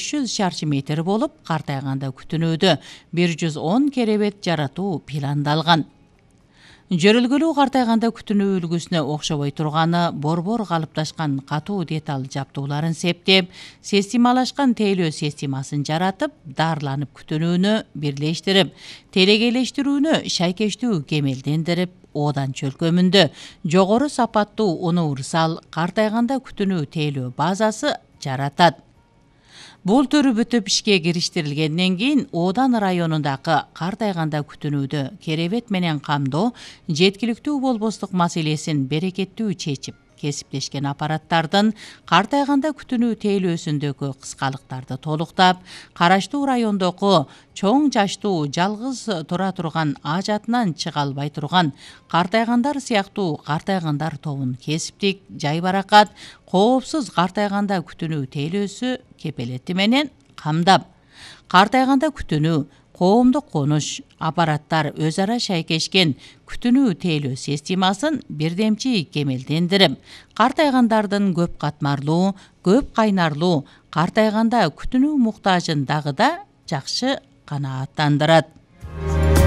500 шарчы метр болуп, картайганда күтүнүүдө 110 керебет жаратуу пландалган. Жөрөлгөлүү картайганда күтүнүү үлгүсүнө окшобой турганы борбор калыпташкан катуу деталь жаптууларын септеп, системалашкан тейлөө системасын жаратып, дарыланып күтүнүүнү бирлештирип, телегейлештирүүнү шайкештүү кемелдендирип, оодан чөлкөмүндө жогору сапаттуу универсал картайганда күтүнүү тейлөө базасы жаратат. Бул түрү бүтүп ишке кириштирилгенден кийин Оодан районундагы картайганда күтүнүүдө керебет менен камдоо жеткиликтүү болбостук маселесин берекеттүү чечип, кесиптешкен аппараттардын картайганда күтүнүү тейлөөсүндөгү кыскалыктарды толуктап, караштуу райондогу чоң жаштуу жалгыз тура турган ажатынан чыга албай турган картайгандар сыяктуу картайгандар тобун кесиптик, жайбаракат, коопсуз картайганда күтүнүү тейлөөсү кепелети менен камдап, картайганда күтүнүү, коомдук конуш, аппараттар өз ара шайкешкен күтүнүү тейлөө системасын бирдемчи кемелдендирип, картайгандардын көп катмарлуу, көп кайнарлуу картайганда күтүнүү муктажын дагы да жакшы канааттандырат.